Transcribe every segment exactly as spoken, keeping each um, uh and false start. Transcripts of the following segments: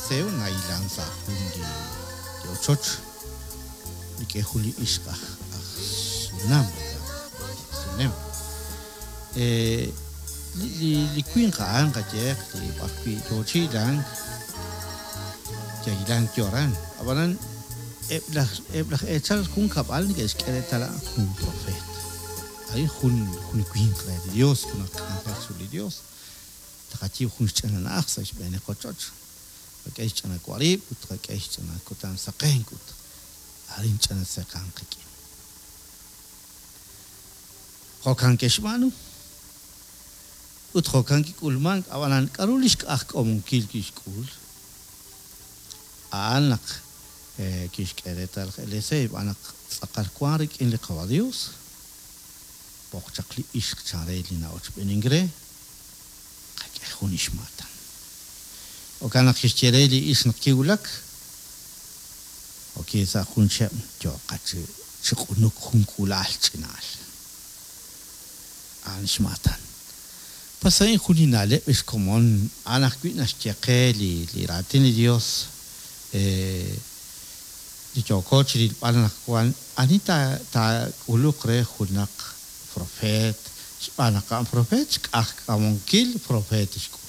Eliseo nahilank sa' jun li li ochoch rik'in jun li ixq aj aj Sunam, Sunem. Eh, li, li, li winq a'an qayehaq li b'arwi' yoo chi hilank, yahilank yo aran. Ab'anan eb' laj eb' laj eechal junkab'al neke'xk'e reetal a'an jun profeet. A'in jun jun winq re li Dios, jun aj k'anjel chiru li Dios. Taqayiib' jun xch'ina na'aj sa' xb'een li qochoch. Tqak'e xch'ina warib' ut tqak'e xch'ina kutan saqenk ut arin ch'ina seqan qik'in. Jo'kan ke'xb'aanu. Ut jo'kan kik'ulmank, ab'anan k'aru li xk'ajk'omunkil kixk'ul? A'an naq eh, kixk'e reetal laj Eliseo xb'aan naq tz'aqal wank rik'in li Qawa Dios, b'oq chaq li ixq chan re li na'ochb'eenink re, qak'e jun ixmaatan. Jo'kan naq kixye re li ixq naq kiwulak, oki sa' jun cheb' yooqa chi chi q'unuk jun k'uula'al ch'ina'al. A'an xmaatan. Pues a'in jun li na'leb' xkomon a'an ajwi' naxye qe li li raatin li Dios eh, li yooko chi rilb'al naq wan ani ta taak'uluq re junaq profeet xb'aan naq a'an profeet xk'ajk'amonkil profeet xk'ul.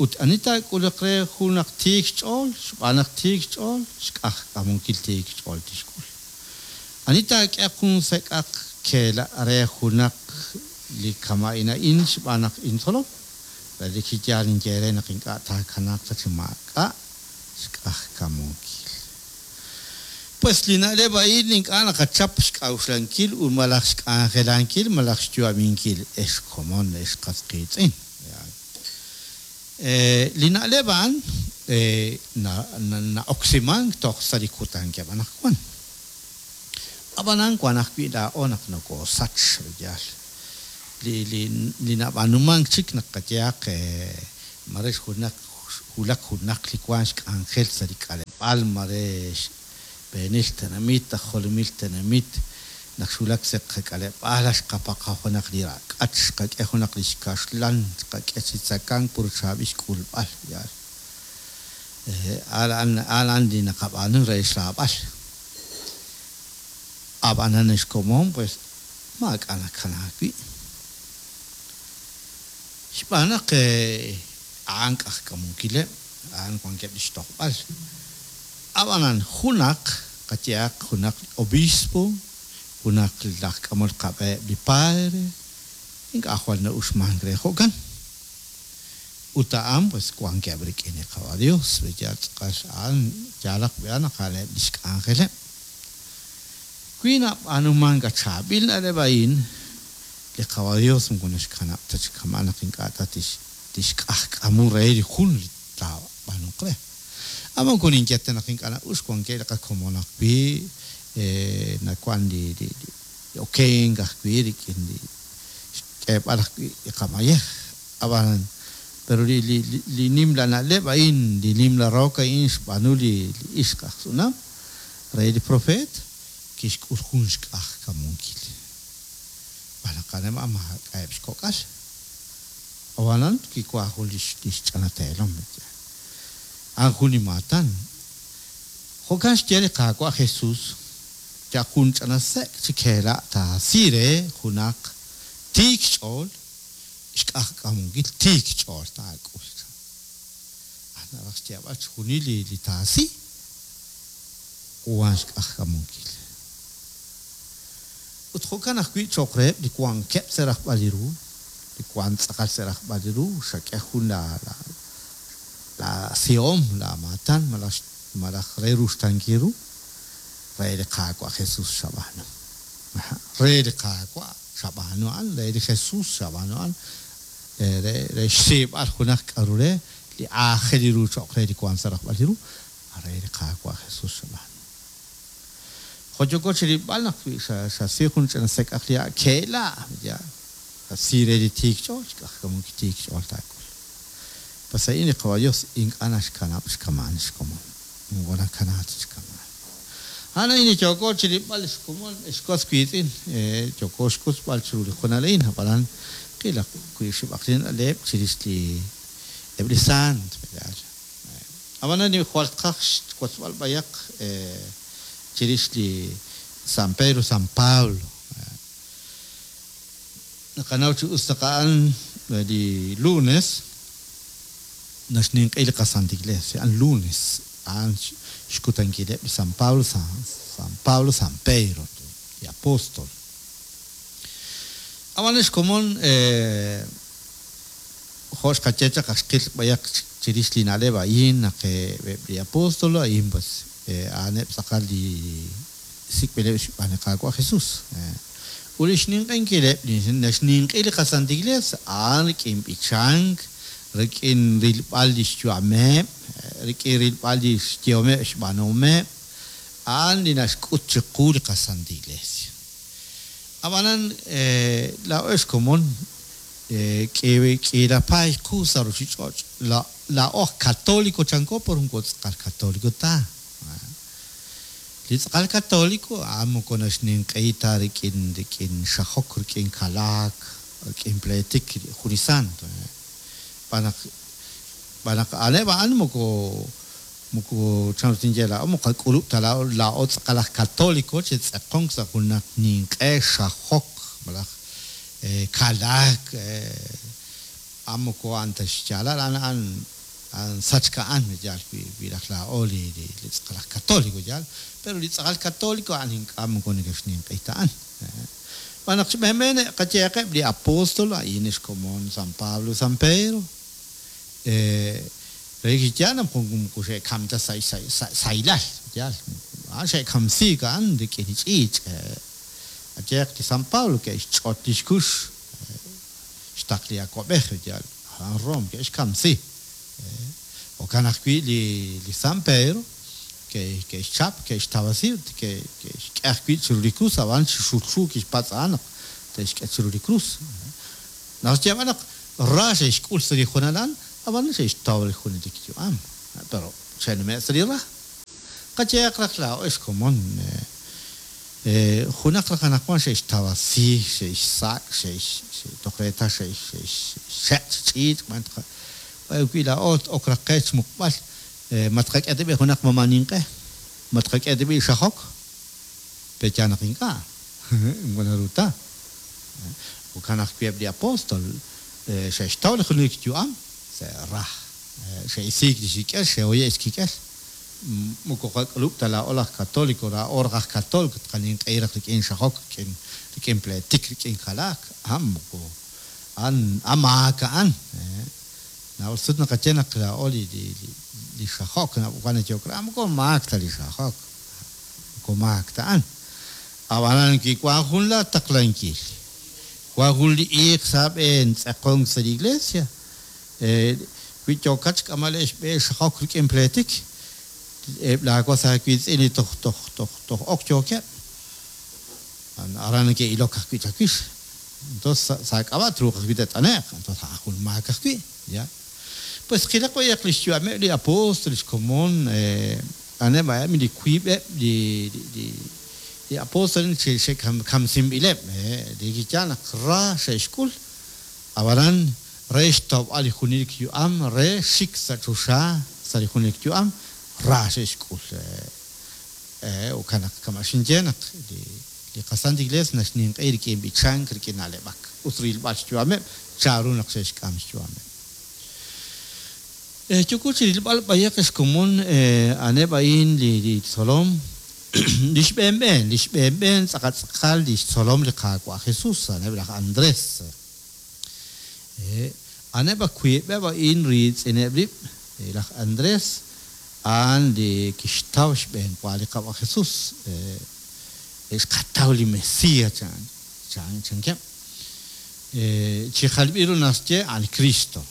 Ut ani taak'uluq re junaq tiik xch'ool xb'aan naq tiik xch'ool xk'ajk'amonkil tiik xch'ool tixk'ul. Ani taak'e jun sek'aq keela re junaq li kama'in a'in xb'aan naq intzolom, relik chi yaal ninye re naq ink'a' taakanaaq ta chi maak'a' xk'ajk'amonkil. Pues li na'leb' a'in ink'a' naqachap xk'a'uxlankil ut malaj xk'anjelankil malaj xyu'aminkil ex komon ex qas qiitz'in. Eh, li na'leb' a'an eh, na- na- na'oksimank toj sa' li kutankeb' anaqwan. Ab'anan wan ajwi' laa'o naq nokosach yaal. Li li li nab'aanumank chik naq qayehaq eh, mare junaq wulak junaq li wank xk'anjel sa' li k'aleb'aal mare xb'eenil tenamit, aj jolomil tenamit, naq xwulak sa' qak'aleb'aal xqapaqa junaq li rak'ach, xqak'e junaq li xkaxlan, xqak'e chi tzakank pur chaab'il xk'ulb'al yaal. Eh, a'an a'an li naqab'aanu re xraab'al. Ab'anan xkomon pues maak'a' nakanaak wi'. Xb'aan naq eh, a'an k'ajk'amunkileb', a'an wankeb' li xtojb'al. Ab'anan junaq qayehaq junaq obispo, junaq laj k'amol qab'eheb' li padre, ink'a' jwal na'uxmank re jo'kan. Ut a'an pues wankeb' rik'in li Qawa Dios, yaal tz'aqal a'an yaalaq b'an naq a'aneb' li xk'anjeleb'. Wi nab'aanumank chaab'il na'leb' a'in, li Qawa Dios moko naxkanab' ta chi kama' naq ink'a' ta tix tixk'ajk'amu re li jun li taab'aanuq re. Ab'an moko ninye ta naq ink'a' na'ux wankeb' li qakomon ajwi' eh, nawan li li li okenk ajwi' rik'in li xk'eeb'al ajwi' li qamayej. Ab'an pero li li li nimla na'leb' a'in, li nimla rook a'in xb'aanu li li ixq aj Sunam re li profeet kixk'ul jun xk'ajk'amunkil. B'aan naq a'an maak'a'eb' xkok'al. Ab'anan kiwank jun li li xch'ana teelom. A'an jun li maatan. Jo'kan xye li Qaawa' Jesus, ya jun ch'ina sek' chi keela' taasi re junaq tiik xch'ool, xk'ajk'amunkil tiik xch'ool taak'ul. A'an naraj xyeeb'al chixjunil li li taasi, wan xk'ajk'amunkil. Ut jo'kan ajwi' cho'q reheb' li wankeb' sa' rajb'al li ru, li wank tz'aqal sa' rajb'al li ru, xak'e jun la la la sihom, la maatan malaj malaj re ruxtankil ru, re li Qaawa' Jesus xab'aanu. Re li Qaawa' xab'aanu a'an, re li Jesus xab'aanu a'an, re re xsiib'al junaq k'aru re li aajel ru cho'q re li wank sa' rajb'al li ru, re li Qaawa' Jesus xab'aanu. Jo' yooko chi rilb'al naq wi xasi jun ch'ina sek'aq li ha' keela', ya xasi re li tiik xch'ool, xk'ajk'amunkil tiik xch'ool taak'ul. Pues a'in li Qawa Dios ink'a' naxkanab' xkamaan xkomon, moko nakanaak ta xkamaan. A'an a'in li yooko chi rilb'al xkomon xkos wiitz'in, eh, yooko xkusb'al chiru li junal a'in, ab'anan qilaq wi' xib'aq li na'leb' chirix li eb' li saant, yaal. Ab'anan li jwal tqaj xwotzb'al b'ayaq chirix li San Pedro, San Pablo. Naqanaw chi us naq a'an li lunes naxninq'i li qaSanta Iglesia, a'an lunes, a'an xkutankileb' li San Pablo, San, San Pablo, San Pedro, li apóstol. Ab'an xkomon jo' xqaye chaq xqil b'ayaq chirix li na'leb' a'in naq eb' li apóstol a'in pues a'aneb' tz'aqal li sik'b'ileb' xb'aan li Qaawa' Jesús. Ut li xninq'inkileb' li naxninq'i li qaSanta Iglesia a'an rik'in b'ichank, rik'in rilb'al li xyu'ameb', rik'in rilb'al li xyehomeb' xb'aanuhomeb', a'an li naxk'ut chiqu li qaSanta Iglesia. Ab'anan laa'o xkomon k'iila paay qu sa' ruuchich'och', laa'o aj católico chanko por moko tz'aqal católico ta. Li tz'aqal católico a'an moko naxninq'i ta rik'in rik'in xajok, rik'in kalaak, rik'in pleetik jun li santo. B'anaq b'anaq a'aneb' a'an moko moko chanru tinye laa'o moko qak'ulub' ta laa'o laa'o tz'aqal aj católico chi tz'eqonk sa' junaq ninq'e xajok malaj kalaak a'an moko a'an ta xyaalal a'an a'an a'an sachk a'an yaal wi raj laa'o li li tz'aqal aj católico yaal, pero li tz'aqal católico a'an ink'a' moko neke'xninq'i ta a'an. B'anaq xb'eenb'een qayeeqeb' li apóstol a'in xkomon San Pablo, San Pedro, re kiyaal naq moko xe'kam ta sa' saylal yaal, a'an xe'kamsiik a'an rik'in li ch'iich'. Ayeeq li San Pablo ke'xch'ot li xkux xtaq li awab'ej yaal, a'an Rome ke'xkamsi. Jo'kan ajwi' li li San Pedro ke'xchap, ke'xtawasi ut ke'xk'e ajwi' chiru li krus, ab'an chi xulxu kixpatz' a'an naq te'xk'e chiru li krus. Naq xyeeb'al naq ra xe'xk'ul sa' li junal a'an, ab'an xe'xtaw li junelik yu'am, pero xe'nume' sa' li ra. Qayeeq raj laa'o xkomon junaq raj anaqwan xe'xtawasi, xe'xsak', xe'x toj reetal xe'xxeq' chi ch'iich' b'an wi laa'o ok raj qe xmuqb'al ma tqak'e ta b'i junaq mama' ninq'e, ma tqak'e ta b'i xajok, pe'yaal naq ink'a' moko naru ta. Jo'kan ajwi' eb' li apóstol xe'xtaw li junelik yu'am sa' ra, xe'isiik li xkik'el, xe'hoye' xkik'el. Moko qak'ulub' ta laa'o laj católico, laa'o raj aj católico tqaninq'ehi raj rik'in xajok, rik'in rik'in pleetik, rik'in kalaak, a'an moko a'an a'an maak a'an. Naab'al sut naqaye naq laa'o li li li xajok wan nayehok re, moko maak ta li xajok, moko maak ta a'an. Ab'anan kiwan jun la taqlankil, wan jun li iiq sa' b'een tz'eqonk sa' li iglesia, wi yookat xk'amal xb'e xajok rik'in pleetik, eb' laawas aawiitz'in li toj toj toj toj ok yookeb', aran neke'ilok ajwi' chawix. Entonces sa' k'ab'a' truuq ajwi' te't'ane'q, entonces a'an jun maak ajwi', ya. Pues qilaq b'ayaq li xyu'ameb' li apóstol xkomon a'aneb' a'eb' li wiib'eb' li li li apóstol xe'kamsinb'ileb', li kiyaal naq ra xe'xk'ul, ab'anan re xtawb'al li junelik yu'am, re xik sa' choxa sa' li junelik yu'am, ra xe'xk'ul. Jo'kan naq kama' xinye naq li li qaSanta Iglesia naxninq'i rik'in b'ichank, rik'in na'leb'ak, ut rilb'al xyu'ameb', chanru naq xe'xk'am xyu'ameb'. Yooko chi rilb'al b'ayaq xkomon a'aneb' a'in li li tzolom, li xb'eenb'een, li xb'eenb'een tz'aqal tz'aqal li xtzolom li Qaawa' Jesús, a'aneb' laj Andrés. A'aneb' wiib'eb' a'in riitz'ineb' rib', laj Andrés a'an li kixtaw xb'eenwa li Qaawa' Jesús, xqataw li Mesías chan chan chankeb'. Chi jalb'il ru naxye a'an Cristo.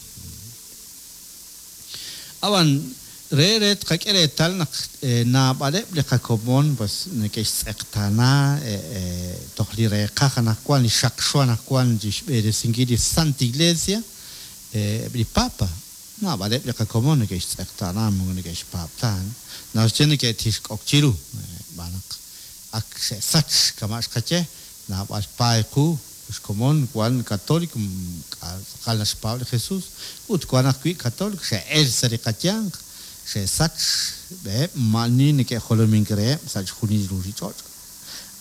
Ab'an re re tqak'e reetal naq naab'aleb' li qakomon pues neke'xtz'eqtaana toj li reeqaj anaqwan li xaqxo anaqwan chi xb'eresinkil li Santa Iglesia, eb' li Papa, naab'aleb' li qakomon neke'xtz'eqtaana moko neke'xpaab' ta, naxye neke'tixk'ok chiru, b'an naq ak xe'sach kama' xqaye, naab'al paay qu xkomon wan católico tz'aqal naxpaab' li Jesús, ut wan ajwi' católico xe'el sa' li qayanq, Xe'sach xb'eheb' maa'ani neke'jolomink reheb' sa' chixjunil li ruuchich'och'.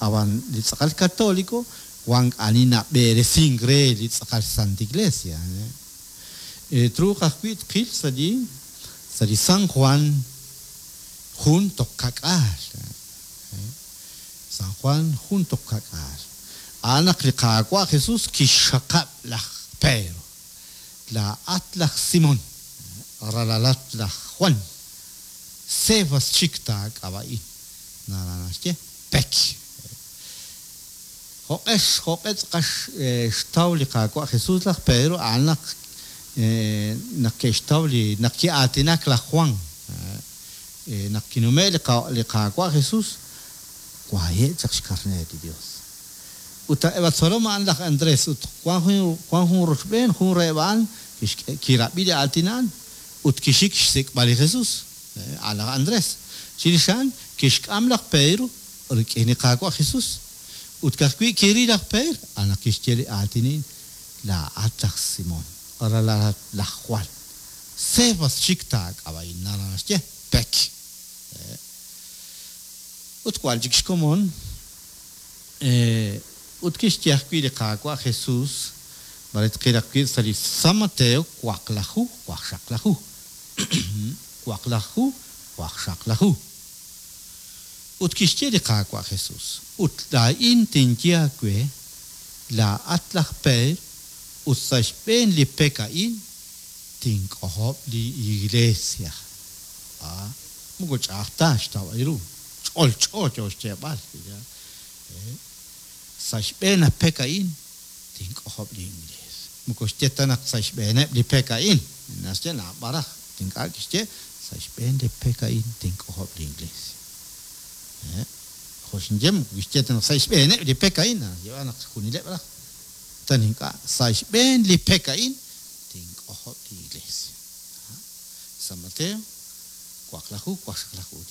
Ab'an li tz'aqal katoliko wank ani nab'eresink re li tz'aqal Santa Iglesia. Truuq ajwi' tqil sa' li sa' li San Juan jun toj ka'k'aal. San Juan jun toj ka'k'aal. A'an naq li Qaawa' Jesús kixxaqab' laj Pedro. Laa'at laj Simón, ralalat laj Juan. Cefas chik taak'ab'a'in. Naraj naxye pek. Jo'q'ex jo'q'e tz'aqal xtaw li Qaawa' Jesús laj Pedro a'an naq naq ke'xtaw li naq ki'aatinak laj Juan. Naq kinume' li li Qaawa' Jesús waye' chaq xkarneer li Dios. Ut eb' tzolom a'an laj Andrés ut wan jun wan jun rochb'een jun reheb' a'an kirab'i li aatin a'an ut kixik xsik'b'al li Jesús. A' laj Andrés. Chirix a'an kixk'am laj Pedro rik'in li Qaawa' Jesús. Ut ka'ajwi' kiril laj Pedro a'an naq kixye li aatin a'in laa'at laj Simón, ralalat laj Juan. Cefas chik taak'ab'a'in naraj naxye pek. Ut wan chik xkomon ut kixye ajwi' li Qaawa' Jesús mare tqil ajwi' sa' li San Mateo waqlaju waqxaqlaju. Waqlaju waqxaqlaju. Ut kixye li Qaawa' Jesús ut laa'in tinye aawe laa'at laj Pedro ut sa' xb'een li pek a'in tink'ojob' li iglesia. Ah, moko ch'a'aj ta xtawb'al ru. Ch'olch'o yo xyeeb'al. Sa' xb'een li pek a'in tink'ojob' li iglesia. Moko xye ta naq sa' xb'eeneb' li pek a'in. Naxye naab'al raj. Ink'a' kixye sa' xb'een li pek a'in tink'ojob' li iglesia. Jo' xinye moko kixye ta naq sa' xb'eeneb' li pek a'in. Naxye naq junileb' raj. Tan ink'a' sa' xb'een li pek a'in tink'ojob' li iglesia. San Mateo waqlaju waqxaqlaju.